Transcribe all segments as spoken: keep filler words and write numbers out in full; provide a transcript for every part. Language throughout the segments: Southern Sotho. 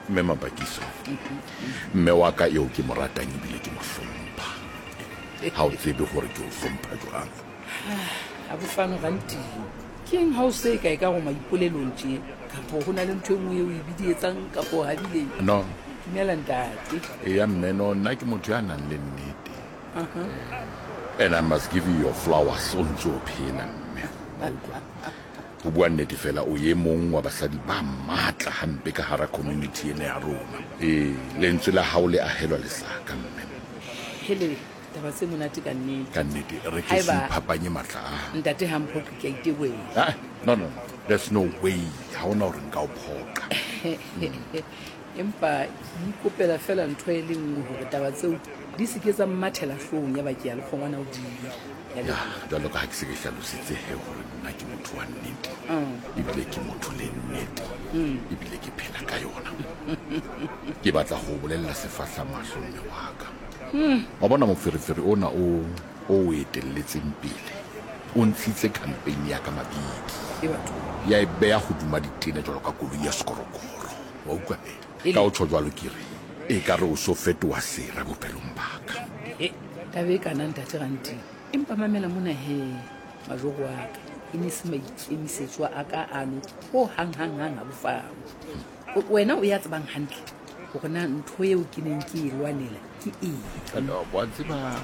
Mme Mapakiso, mme wa ka eo ke mo ratang ebile ke mo hlompha. Ha o tsebe hore ke o hlompha jwang. A bofano ganteng. Ke eng ha o se ka e ka go maipolelong tje kapo ho na le ntho e nngwe eo e bidietsang kapo habileng? No. Dumela ntate. Eya mme, no, nna ke motho ya nang le nnete. Uh-huh. And I must give you your flowers o ntse o phela mme. Wa utlwa? Ho bua nnete fela o ye mong wa basadi ba matla hampe ka hara community ena ya rona. Ee, lentswe la hao le ahelwa lesaka mme. Hele, taba tse monate ka nnete. Ka nnete, re ke se Haeba iphapanye matla a. Ntate ha mphoqe ke a itebohela. Ah, no, no, no. There's no way. Ha hona hore nka o phoqa. Empa ke ikopela fela ntho e le nngwe hore taba tseo di se ke tsa mmathela hloohong ya ba ke ya le kgongwana hodimo. Ya Ya, leboha. jwalo ka ha ke se ke hlalositse he hore nna ke motho wa nnete. Mm. Ebile ke motho le nnete. Mm. Ebile ke phela ka yona. Ke batla ho bolella sefahla mahlo mme wa ka. Mm. Wa bona moferefere ona o o o etelletseng pele. O ntshitse campaign ya ka mabidi. E batho. Ya e beha hodima ditene jwalo ka koloi ya sekorokoro. Wa utlwa he? Ele. Ka o tjho jwalo ke re, e ka re o so fetoha sera bophelong ba ka. E, taba e kana ntate Ranting. Empa mamela mona he, majoro wa ka. E ne se maikemisetso a ka ano ho hang hang hang ha bofano. O- Wena o ya tsebang hantle hore na ntho eo ke neng ke e lwanela ke eng. No, wa tseba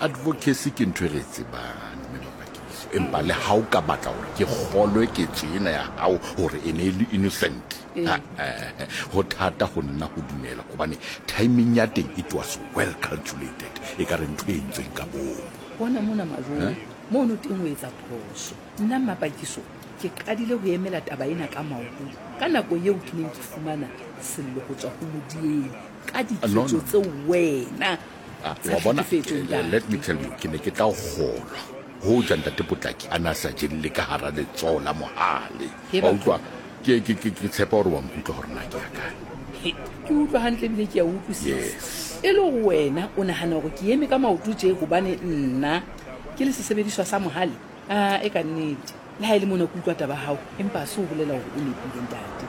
advocacy ke ntho e re e tsebang mme Mapakiso. Empa le ha o ka batla hore ke kgolwe ketso ena ya hao hore e ne e le innocent. Ee. Ha, eh, ho thata ho nna ho dumela hobane timing ya teng it was well calculated. E ka re ntho e entsweng ka bomo. Bona mona majoro, Eh? mono teng o etsa phoso. Nna Mapakiso ke qadile ho emela taba ena ka maoto ka nako eo ke neng ke fumana sello ho tswa ho Modieng ka Ah, no, diketso no, no. tseo wena Ah, tsa wa bona, tlhekefetso, eh, let me ntate. tell you, ke ne ke tla o kgolwa hoja ntate Potlaki a na sa jelle ka hara letsoho la mohale. He Wa batho. utlwa? Ke, ke, ke, ke tshepa hore wa nkutlwa hore na ke ya kae. He, ke utlwa hantle ebile ke a utlwisisa. Yes. E le hore wena o nahana hore ke eme ka maoto tje hobane nna ke le sesebediswa sa mohale? Ah, e ka nnete. Le ha e le mona ke utlwa taba ya hao, empa ha se ho bolela hore o nepile ntate.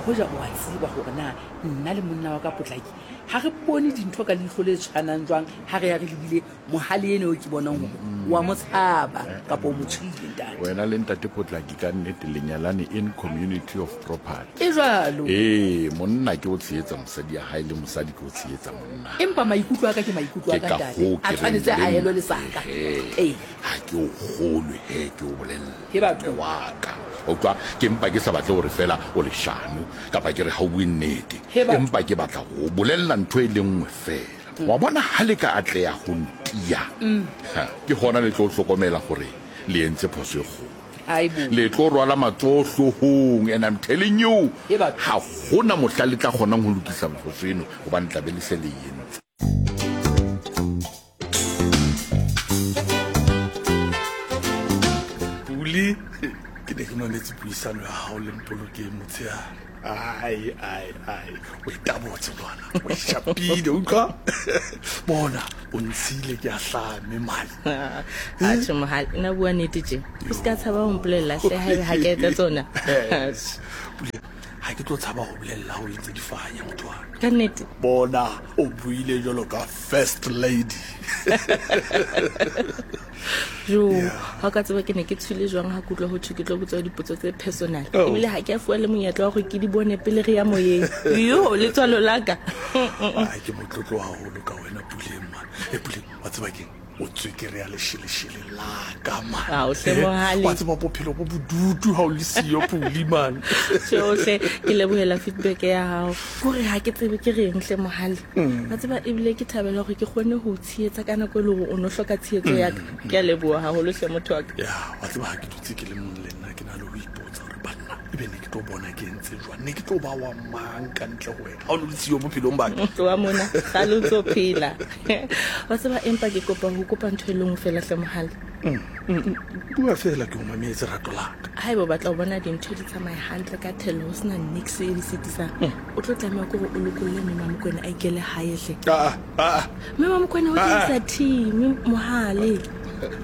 Hoja o a tseba hore na nna le monna wa ka Potlaki ha re bone dintho ka leihlo le tshwanang jwang ha re ya re lebile mohale eno eo ke bonang hore wa mo tshaba kapa o mo tshohile ntate. Wena le ntate Potlaki ka nnete le nyalane in community of property. E jwalo. Ee, monna ke o tshehetsa mosadi ya hae le mosadi ke o tshehetsa monna. Empa maikutlo a ka ke maikutlo a Ke ka ka ntate. hoo A ke reng tshwanetse a le helwe nna, lesaka. ehe, Ee. ha ke o kgolwe he ke o bolella. He batho. Mme wa ka. Wa utlwa, ke mpa ke sa batle hore fela o leshano kapa ke re ha o bue nnete. He batho. Empa ke batla ho o bolella ntho e le nngwe fela. Wa bona ha le ka atleha ho ntiya. Mm. Ha, ke hona le tlo hlokomela hore le entse phoso e kgolo. Aibo. Le tlo rwala matsoho hloohong, and I'm telling you, He batho. ha hona mohla le tla kgonang ho lokisa phoso eno hobane tla be le se le e entse. Pule, ke ne ke mametse puisano ya hao le Mpolokeng motshehare. Ai, ai, ai, o e tabotse ngwana, o e shapile, utlwa? Bona, o ntshile ke a hlame mane. Atjhe mohale, nna bua nnete tje. O ska tshaba ho mpolella hle haebe ha ke etsa tsona. Yes. Pule, ha ke tlo tshaba ho bolella ha o entse difanya motho wa ka. Ka nnete? Bona, o buile jwalo ka first lady. Jo, ha o ka tseba ke ne ke tshohile jwang ha ke utlwa ho thwe ke tlo botswa dipotso tse personal. Oh. Ebile ha ke a fuwa le monyetla wa hore ke di bone pele re ya moyeng. Yo, letswalo la ka. Ai, ke motlotlo haholo ka wena Puleng man. E Puleng, wa tseba keng? O tswekere ya lesheleshele la ka man. Ao, hle mohale. Wa tseba bophelo bo bodutu ha o le siyo Puli man. Tjho hle, ke lebohela feedback ya hao. Kore ha ke tsebe ke reng hle mohale. Mm. Wa tseba ebile ke thabela hore ke kgone ho o tshehetsa ka nako e le hore o no hloka tshehetso ya ka. Mm. Ke a leboha haholo hle motho wa ka. Ya, wa tseba ha ke dutse ke le mong le nna ke na le ho ipotsa hore banna ebe ne ke tlo bona ke entse jwang, ne ke tlo ba wa mang ka ntle ho wena ha o no le siyo bophelong ba ka. Tloha mona, kgale o ntso phela. Wa tseba empa ke kopa ho kopa ntho e le nngwe fela hle mohale. Mm, mm, mm. Bua fela ke o mametse rato la ka. Haeba o batla ho bona dintho di tsamaya hantle ka thello ho sena niks e di sitisang, Mm. o tlo tlameha ke hore o lokolle mme Mamokwena a ikele hae hle. Ah, ah, ah. Mme Mamokwena o Ah, ah. tlisa team mohale.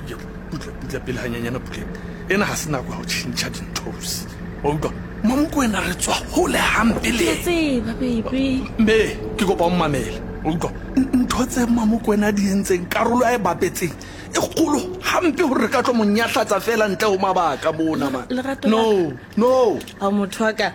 Yo, butle, butle pele hanyenyana Puleng. Ena ha se nako ya ho tjhentjha dintho, ausi. Wa utlwa? Mamokwena re tswa hole hampe le. Ke tseba baby. Mme ke kopa o mmamele. O utlwa? Ntho tse Mamokwena di entseng karolo a e bapetseng e kgolo hampe hore re ka tlo mo nyahlatsa fela ntle ho mabaka mona man. Lerato No, no. A motho wa ka.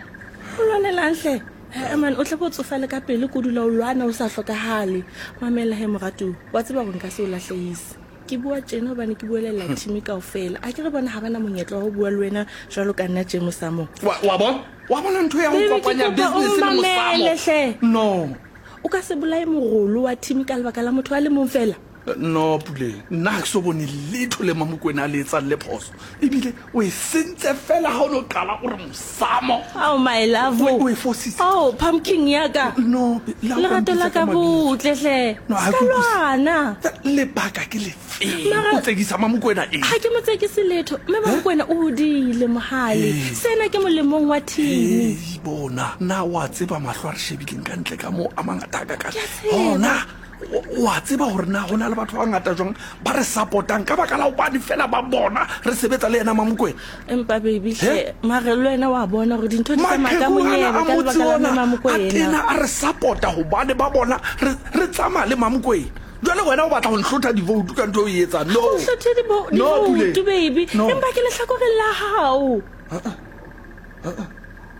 O lwanelang hle. Eh man, o tle bo tsofale ka pele ko dula o lwana o sa hlokahale. Mamela he moratu, wa tseba hore nka se o lahlehise. Ke bua tjena hobane ke buelela team kaofela. A ke re bona ha bana monyetla wa ho bua le wena jwalo ka nna tje mosamo. Wa wa bona? Wa bona ntho ya ho Baby, ke kopanya kopa o business le mmamele mosamo. hle. No. O ka se bolaye morolo wa team ka lebaka la motho a le mong fela. No Puleng, nna ha ke so bone letho le Mamokwena a le etsang le phoso. Ebile o e sentse fela ha o no qala o re mosamo. Oh my love. O e fositse. Oh, pumpkin ya ka. No, la o Lerato la mpitsa ka ka mabitso. botle hle. No, ha Ska ke utlwisise. lwana. Lebaka ke lefeng? Mara- O tsekisa Mamokwena eng? Ha ke mo tsekise letho, mme Mamokwena o hodile mohale. Ee. Sena ke molemong wa team. Ee, bona na wa tseba mahlo a re shebileng ka ntle ka moo a mangata a kakang. Ke a tseba. Hona o a tseba hore na ho na le batho ba bangata jwang ba re support-ang ka baka la hobane fela ba bona re sebetsa le yena Mamokwena. Empa baby He? hle, mare le wena wa bona hore dintho di tsamaya ka Maqheku ana monyebe a ka motse lebaka la ona mme a Mamokwena. tena a re support-a hobane ba bona re re tsamaya le Mamokwena. Jwale wena o batla ho nhlotha di-vote ka ntho eo o e etsang. No. O hlothe di-vo- No, di-vote, Puleng. baby. No. Empa ke lehlakoreng la hao.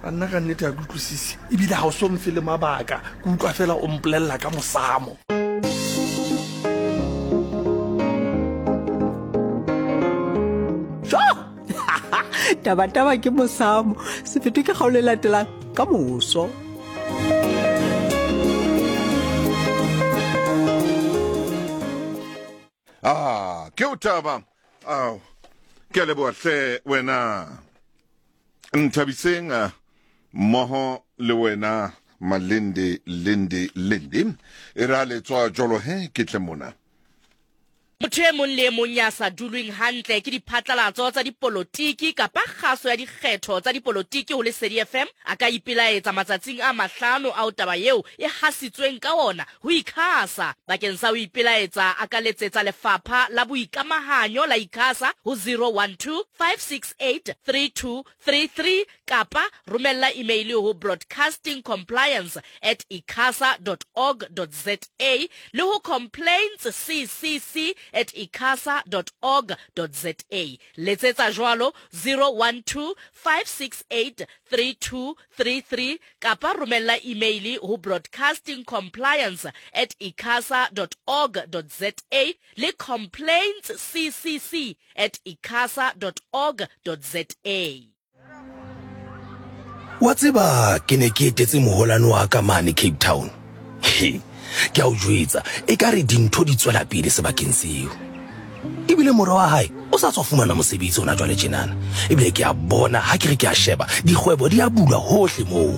A nna ka nnete ha ke utlwisise. Ebile ha o so mfe le mabaka. Ke utlwa fela o mpolella ka mosamo. Jo! Tabataba ke mosamo. Sefeto ke kgaolo e latelang ka moso. Ah, ke o taba. Ao. Ke a leboha hle wena. Nthabiseng ah, mmoho le wena Malinde Linde Linde. E ra le tswa jolo he ke tle mona. Motho e mong le e mong ya sa dulweng hantle ke diphatlalatso tsa dipolotiki kapa kgaso ya dikgetho tsa dipolotiki ho Lesedi F M a ka ipelaetsa matsatsing a mahlano ao taba eo e hasitsweng ka ona ho ICASA. Bakeng sa ho ipelaetsa a ka letsetsa lefapha la boikamahanyo la ICASA ho zero one two, five six eight, three two three three kapa romella email ho broadcasting compliance at icasa dot org dot za le ho complaints c c c at icasa dot org dot za. Letsetsa jwalo zero one two, five six eight, three two three three kapa romella email ho broadcasting compliance at icasa dot org dot za le complaints c c c at icasa dot org dot za. Wa tseba ke ne ke etetse moholwane wa ka mane Cape Town. He, ke a o jwetsa, ekare dintho di tswela pele sebakeng seo. Ebile mora wa hae o sa tswa fumana mosebetsi hona jwale tjenana. Ebile ke a bona ha ke re ke a sheba, dikgwebo di a bulwa hohle moo.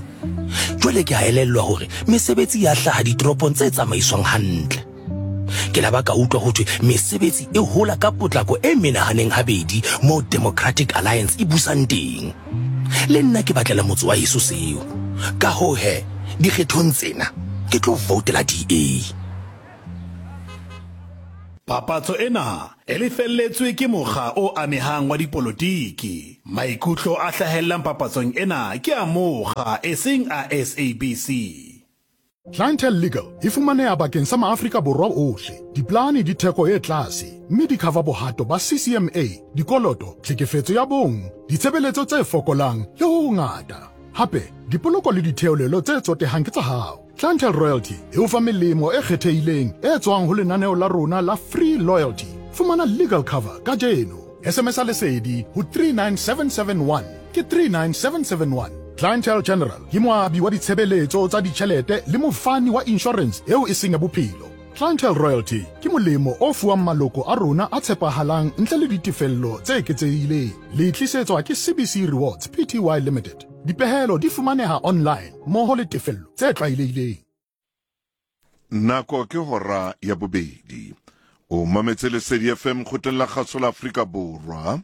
Jwale ke a elellwa hore mesebetsi ya hlaha ditoropong tse tsamaiswang hantle. Ke la ba ka utlwa ho thwe mesebetsi e hola ka potlako e menahaneng habedi moo Democratic Alliance e busang teng. Le nna ke batlela motse wa heso seo. Ka hoo he, dikgethong tsena ke tlo voutela D A. Papatso ena e lefelletswe ke mokga o amehang wa dipolotiki. Maikutlo a hlahellang papatsong ena ke a mokga eseng a S A B C. Clientele Legal e fumaneha bakeng sa maAfrika Borwa ohle. Diplane di theko e tlase, mme di cover bohato ba C C M A, dikoloto, tlhekefetso ya bong, ditshebeletso tse fokolang le ho hongata. Hape, dipoloko le ditheolelo tse tsotehang ke tsa hao. Clientele Royalty e o fa melemo e kgethehileng e tswang ho lenaneo la rona la Free Loyalty. Fumana legal cover kajeno. S M S a Lesedi ho three nine seven seven one ke three nine seven seven one. Clientele General ke moabi wa ditshebeletso tsa ditjhelete le mofani wa insurance eo e seng ya bophelo. Clientele Royalty ke molemo o fuwang maloko a rona a tshepahalang ntle le ditefello tse eketsehileng. Le tlisetswa ke C B C Rewards P T Y Limited. Dipehelo di fumaneha online mmoho le tefello tse tlwaelehileng. Nako ke hora ya bobedi. O mametse Lesedi F M kgotleng la kgaso la Afrika Borwa.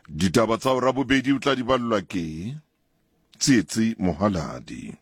Ditaba tsa hora bobedi o tla di ballwa ke Tsietsi Mohaladi.